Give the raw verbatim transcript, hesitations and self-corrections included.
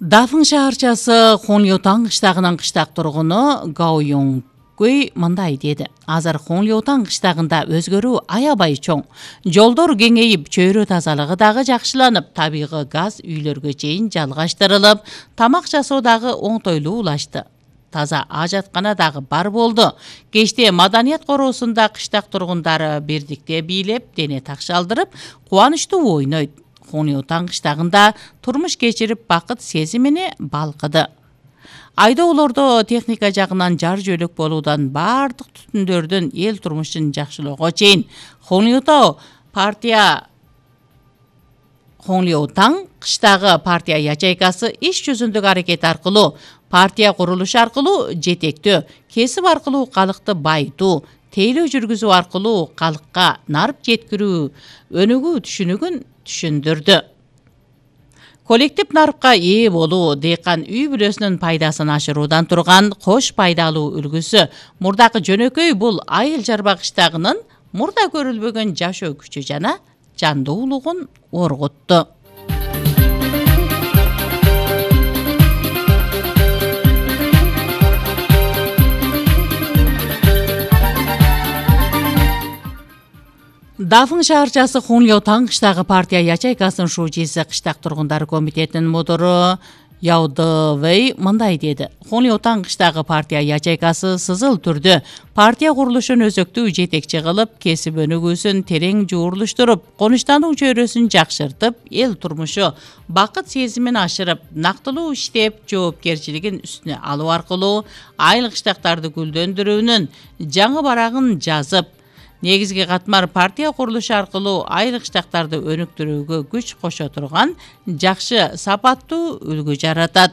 Дафын шаарчасы Хонлиотан кыштагынын кыштак тургуну Гао Йонгкуй мындай деди. Азыр Хонлиотан кыштагында өзгөрүү аябай чоң. Жолдор кеңейип, чөйрө тазалыгы дагы жакшыланып, табигый газ үйлөргө чейин жалгаштырылып, тамак жасоо дагы оңтойлуу улашты. Таза ажаткана дагы бар болду. Кечте маданият короосунда кыштак тургундары бирдикте бийлеп, дене такшалдырып, кубанычтуу ойнойт. Хонлиотан кыштагында турмуш кечирип, бакыт сезимине балкыды. Айдоолордо техника жагынан жар жөлөк болуудан бардык түтүндөрдөн эл турмушун жакшылоого чейин Хонлиотан партия Хонлиотан кыштагы партия ячейкасы иш жүзүндөгү аракет аркылуу, партия курулушу аркылуу жетектөө, кесип аркылуу калыкты байытуу, тейлөө жүргүзүү аркылуу калыкка нарып жеткирүү өнүгүү түшүнүгүн түшүндүрдү. Коллектив нарыпка ээ болуу дыйкан үй бүлөсүнүн пайдасын ашыруудан турган кош пайдалуу үлгүсү. Мурдакы жөнөкөй бул айыл жарба кыштагынын мурда көрүлбөгөн жашоо күчү жана жандуулугун оргутту. Дафын шаарчасы Хонлиотан кыштагы партия ячейкасынын шуучиси кыштак тургундары комитетинин мудуру Яо Дэвэй мындай деди. Хонлиотан кыштагы партия ячейкасы сызыл түрдө партия курулушун өзөктүү жетекчи кылып, кесип өнүгүүсүн терең жуурулуштуруп, конуштануу чөйрөсүн жакшыртып, эл турмушу бакыт сезимин ашырып, нактылуу иштеп, жоопкерчилигин үстүнө алуу аркылуу айыл кыштактарды гүлдөндүрүүнүн жаңы барагын жазып, негизги катмар партия курулушу аркылуу айыл кыштактарды өнүктүрүүгө күч кошо турган жакшы сапаттуу үлгү жаратат.